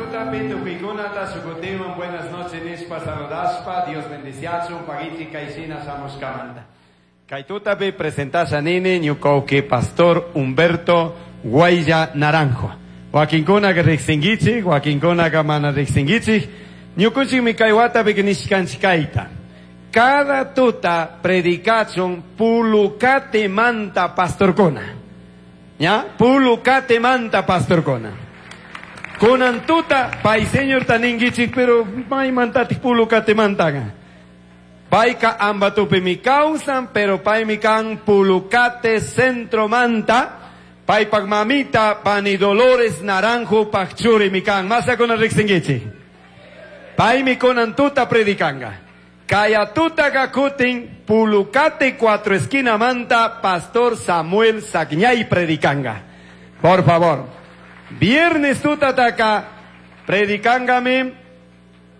Tutapi tukuykunata shukutiwan buenas noches nishpa saludashpa Dios bendiciachun pagichi kayshina shamushkamanta. Kay tutapi presentasha nini ñuka pastor Humberto Guaya Naranjo. Wakinkunaqa riqsinkichik, wakinkunaqa mana riqsinkichik. Ñukunchikmi kay watapi nishkanchik kayta. Cada tuta predicachun pulucate manta pastorkuna. ¿Ya? Pulucate manta pastorkuna. Kunan tuta pay señor taninkichik, pero maymantatik pulucate mantaqa. Payka ambatupi mi kawsan, pero paymi kan pulucate centro manta. Paypak mamita pani Dolores Naranjo pakchuri mi kan. Masakuna riqsinkichik. Paymi kunan tuta predicanga. Kaya tuta kutin pulucate cuatro esquina manta pastor Samuel Sagñay predicanga. Por favor. Viernes tuta taka predicangami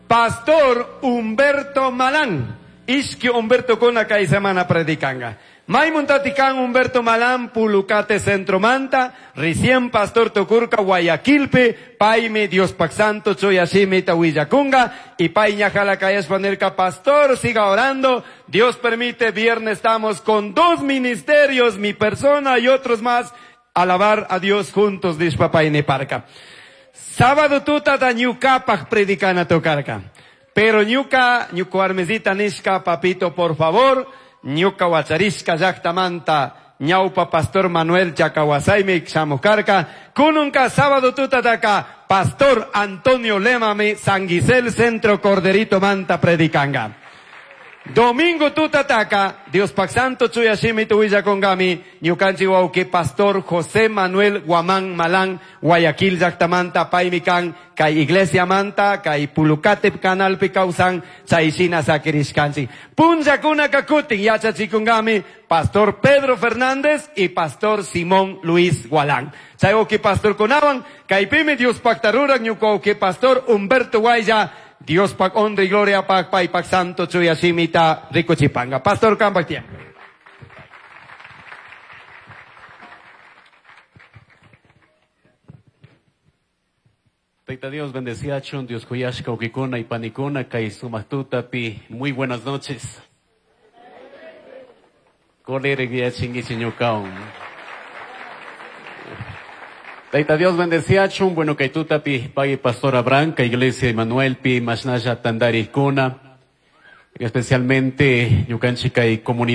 pastor Humberto Malán. Ishki Humberto kuna kay semana predicanga. Maymuntatikan Humberto Malán, Pulucate Centro Manta, recién Pastor Tukurka Guayaquilpe, Paime Dios Pac Santo, Choyashimi Tahuillakunga, y Paiña Jalacayas Pastor, siga orando. Dios permite, viernes estamos con dos ministerios, mi persona y otros más, alabar a Dios juntos, dice Papá Parca. Sábado tuta da ñukapak predicana tocarca. Pero ñuka, ñuka armesita nishka, papito, por favor, ñuka wacharishka llaqtamanta ñawpa pastor Manuel Chacahuasaymi shamukarka kununka sábado tutataka pastor Antonio Lemami San Gisel Centro Corderito Manta predicanga. Domingo tutataka, Dios pak santo chuyashimi tuwillakongami, ñukanchi wawki pastor José Manuel Guamán Malán, Guayaquil llaqtamanta paymi kan, kay iglesia manta, kay Pulucate canalpi kawsan, chayshina sakirishkanchik. Punllakuna kakutin yachachikungami, pastor Pedro Fernández y pastor Simón Luis Gualán. Chay wawki pastor kunawan, kaypimi Dios paktarurak ñuka wawki pastor Humberto Guaya, Dios pak honra y gloria pak pay pak santo chuyashimita rikuchipanga. Pastor kampak tiempo. Tayta Dios bendeciachun, Dios kuyashka ukikuna y panikuna, kay sumaq tutapi. Muy buenas noches. Kolere guiachingichi ñukawan. Tayta Dios bendeciachun, bueno kay tutapi pay Pastor Abraham, kay Iglesia Emanuel pi mashnalla tandarikuna, especialmente ñukanchik kay comunidad.